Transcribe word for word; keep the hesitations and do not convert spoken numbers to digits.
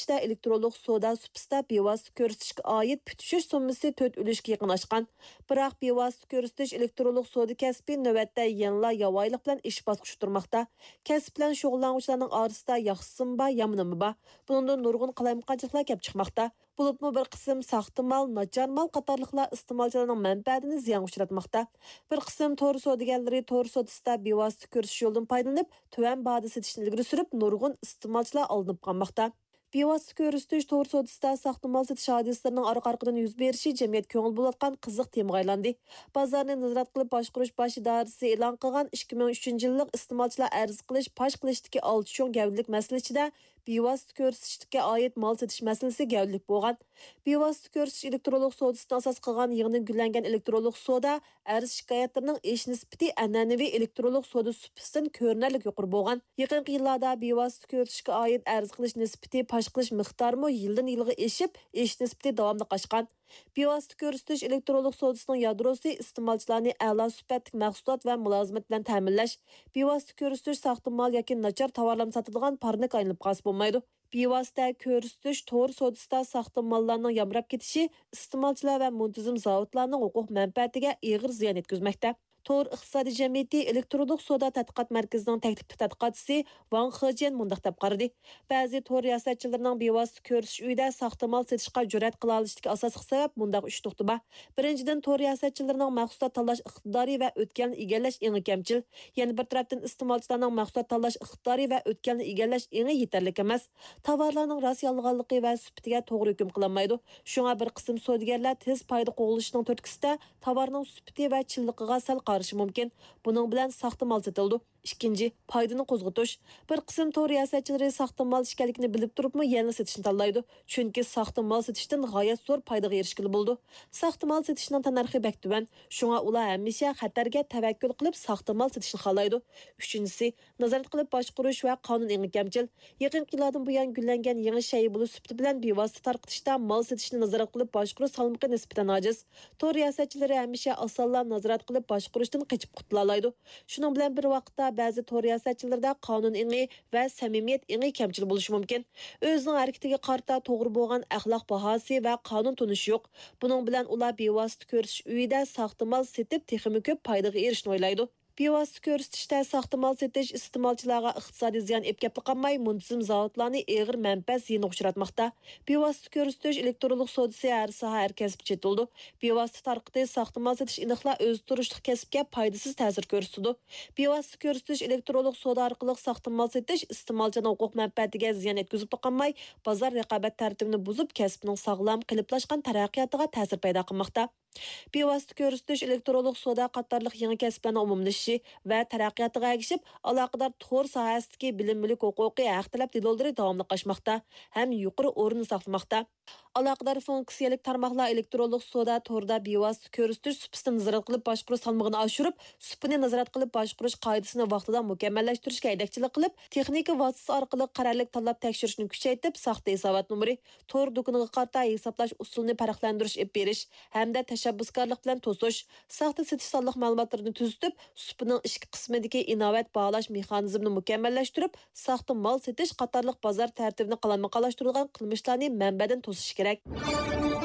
سۈپىتىدە ئېلېكترونلۇق سودا سۇپىسىدا بىۋاسىتە كۆرسىتىشكە ئائىت پۈتۈشۈش سوممىسى تۆت ئۈلۈشكە يېقىن ئاشقان. بىراق بىۋاسىتە كۆرسىتىش ئېلېكترونلۇق سودا كەسپى نۆۋەتتە يەنىلا ياۋايىلىق بىلەن ئېشىپ باسقۇچ تۇرماقتا. كەسىپ بىلەن شۇغۇللانغۇچىلارنىڭ ئارىسىدا ياخشىسىمۇ بار، يامىنىمۇ بار. بۇنىڭدىن نۇرغۇن قالايمىقانچىلىقلار كەپ چىقماقتا. بولۇپمۇ بىر قىسىم ساختا مال، ناچار مال قاتارلىقلار ئىستېمالچىلارنىڭ مەنپەئەتىنى زىيانغا ئۇچراتماقتا. بىر قىسىم تور سودىگەرلىرى تور سودىسىدا بىۋاسىتە كۆرسىتىش يولىدىن پايدىلىنىپ، تۆۋەن باھادا سېتىشنى ئىلگىرى سۈرۈپ، نۇرغۇن ئىستېمالچىلار ئالدىنىپ قالماقتا. بىۋاسىتە كۆرسىتىش تور سودىسىدا ساختا مال سېتىش ھادىسىلىرىنىڭ ئارقا-ئارقىدىن يۈز بېرىشى جەمئىيەت كۆڭۈل بۆلۈۋاتقان قىزىق تېمىغا ئايلاندى. بازارنى نازارەت قىلىپ باشقۇرۇش باش ئىدارىسى ئېلان قىلغان ئىككى مىڭ ئۈچىنچى يىللىق ئىستېمالچىلار ئەرز قىلىش، پاش قىلىشتىكى ئالتە چوڭ گەۋدىلىك مەسىلە ئىچىدە بىۋاسىتە كۆرسىتىشكە ئائىت مال سېتىش مەسىلىسى گەۋدىلىك بولغان. بىۋاسىتە كۆرسىتىش ئېلېكترونلۇق سودىسىنى ئاساس قىلغان يېڭىدىن گۈللەنگەن ئېلېكترونلۇق سودا ئەرز شىكايەتلىرىنىڭ ئېشىش نىسبىتى ئەنئەنىۋى ئېلېكترونلۇق سودا سۇپىسىدىن كۆرۈنەرلىك يۇقىرى بولغان. يېقىنقى يىللاردا بىۋاسىتە كۆرسىتىشكە ئائىت ئەرز قىلىش نىسبىتى پاش قىلىش مىقدارىمۇ يىلدىن يىلغا ئېشىپ، ئېشىش نىسبىتى داۋاملىق ئاشقان. بىۋاسىتە كۆرسىتىش ئېلېكترونلۇق سودىسىنىڭ يادروسى ئىستېمالچىلارنى ئەلا سۈپەتلىك مەھسۇلات ۋە مۇلازىمەت بىلەن تەمىنلەش، بىۋاسىتە كۆرسىتىش ساختا مال ياكى ناچار تاۋارلارنى ساتىدىغان پارنىكقا ئايلىنىپ قالسا بولمايدۇ. بىۋاسىتە كۆرسىتىش تور سودىسىدا ساختا ماللارنىڭ يامراپ كېتىشى ئىستېمالچىلار ۋە مۇنتىزىم زاۋۇتلارنىڭ ھوقۇق مەنپەئەتىگە ئېغىر زىيان يەتكۈزمەكتە. تور ئىقتىسادىي جەمئىيىتى ئېلېكترونلۇق سودا تەتقىقات مەركىزىنىڭ تەكلىپلىك تەتقىقاتچىسى ۋاڭ خېجيەن مۇنداق دەپ قارىدى: بەزى تور رىياسەتچىلىرىنىڭ بىۋاسىتە كۆرسىتىش ئۆيىدە ساختا مال سېتىشقا جۈرئەت قىلالىشىدىكى ئاساسلىق سەۋەب مۇنداق ئۈچ نۇقتا بار. بىرىنچىدىن، تور رىياسەتچىلىرىنىڭ مەھسۇلات تاللاش ئىقتىدارى ۋە ئۆتكەلنى ئىگىلەش ئېڭى كەمچىل. يەنە بىر تەرەپتىن، ئىستېمالچىلارنىڭ مەھسۇلات تاللاش ئىقتىدارى ۋە ئۆتكەلنى ئىگىلەش ئېڭى يېتەرلىك ئەمەس. تاۋارلارنىڭ راست يالغانلىقى ۋە سۈپىتىگە توغرا ھۆكۈم قىلالمايدۇ. شۇڭا بىر قىسىم سودىگەرلەر تېز پايدا قوغلىشىنىڭ تۈرتكىسىدە تاۋارنىڭ سۈپىتى ۋە چىنلىقىغا سەل قارىشى مۇمكىن. بۇنىڭ بىلەن ساختا مال سېتىلىدۇ. ئىككىنچى، پايدىنى قوزغىتىش. بىر قىسىم تور رىياسەتچىلىرى ساختا مال ئىكەنلىكىنى بىلىپ تۇرۇپمۇ يەنىلا سېتىشنى تاللايدۇ. چۈنكى ساختا مال سېتىشتىن غايەت زور پايدىغا ئېرىشكىلى بولىدۇ. ساختا مال سېتىشنىڭ تەننەرخى بەك تۆۋەن. شۇڭا ئۇلار ھەمىشە خەتەرگە تەۋەككۈل قىلىپ ساختا مال سېتىشنى خالايدۇ. ئۈچىنچىسى، نازارەت قىلىپ باشقۇرۇش ۋە قانۇن ئېڭى كەمچىل. يېقىنقى يىللاردىن بۇيان گۈللەنگەن يېڭى شەيئە بولۇش سۈپىتى بىلەن بىۋاسىتە تارقىتىشتا مال سېتىشنى نازارەت قىلىپ باشقۇرۇش سالمىقى نىسبەتەن ئاجىز. تور رىياسەتچىلىرى ھەمىشە ئاسانلا نازارەت قىلىپ باشقۇرۇشتىن قېچىپ قۇتۇلالايدۇ. شۇنىڭ بىلەن بىر ۋاقىتتا، بەزى تور رىياسەتچىلىرىدە قانۇن ئېڭى ۋە سەمىمىيەت ئېڭى كەمچىل بولۇشى مۇمكىن. ئۆزىنىڭ ھەرىكىتىگە قارىتا توغرا بولغان ئەخلاق باھاسى ۋە قانۇن تونۇشى يوق. بۇنىڭ بىلەن ئۇلار بىۋاسىتە كۆرسىتىش ئۆيىدە ساختا مال سېتىپ، تېخىمۇ كۆپ پايدىغا ئېرىشىشنى ئويلايدۇ. بىۋاسىتە كۆرسىتىشتە ساختا مال سېتىش ئىستېمالچىلارغا ئىقتىسادىي زىيان ئېلىپ كەپلا قالماي، مۇنتىزىم زاۋۇتلارنى ئېغىر مەنپەئەت زىيىنىغا ئۇچراتماقتا. بىۋاسىتە كۆرسىتىش ئېلېكترونلۇق سودىسى ھەر ساھە، ھەر كەسىپكە چېتىلىدۇ. بىۋاسىتە تارقىتىش ساختا مال سېتىش ئېنىقلا ئۆزى تۇرۇشلۇق كەسىپكە پايدىسىز تەسىر كۆرسىتىدۇ. بىۋاسىتە كۆرسىتىش ئېلېكترونلۇق سودا ئارقىلىق ساختا مال سېتىش ئىستېمالچىنىڭ ھوقۇق مەنپەئەتىگە زىيان يەتكۈزۈپلا قالماي، بازار رىقابەت تەرتىپىنى بۇزۇپ، كەسىپنىڭ ساغلام، قېلىپلاشقان تەرەققىياتىغا تەسىر پەيدا قىلماقتا. بىۋاسىتە كۆرسىتىش، ئېلېكترونلۇق سودا قاتارلىق يېڭى كەسىپلەرنىڭ ئومۇملىشىشى ۋە تەرەققىياتىغا ئەگىشىپ، ئالاقىدار تور ساھەسىدىكى بىلىنمىلىك ھوقۇقى ھەق تەلەپ دېلولىرى داۋاملىق ئاشماقتا ھەم يۇقىرى ئورۇننى ساقلىماقتا. ئالاقىدار فۇنكسىيەلىك تارماقلار ئېلېكترونلۇق سودا تورىدا بىۋاسىتە كۆرسىتىش سۇپىسىنى نازارەت قىلىپ باشقۇرۇش سالمىقىنى ئاشۇرۇپ، سۇپىنى نازارەت قىلىپ باشقۇرۇش قائىدىسىنى ۋاقتىدا مۇكەممەللەشتۈرۈشكە ھەيدەكچىلىك قىلىپ، تېخنىكا ۋاسىتىسى ئارقىلىق قەرەللىك تاللاپ تەكشۈرۈشنى كۈچەيتىپ، ساختا ھېسابات نومۇرى، تور دۇكىنىغا قارىتا ھېسابلاش ئۇسۇلىنى پەرقلەندۈرۈش ئېلىپ بېرىش ھەمدە تەشەببۇسكارلىق بىلەن توسۇش، ساختا سېتىش سانلىق مەلۇماتلىرىنى تۈزىتىپ، سۇپىنىڭ ئىچكى قىسمىدىكى ئىناۋەت باھالاش مېخانىزمىنى مۇكەممەللەشتۈرۈپ، ساختا مال سېتىش قاتارلىق بازار تەرتىپىنى قالايمىقانلاشتۇرىدىغان قىلمىشلارنى مەنبەدىن توسۇش كېرەك.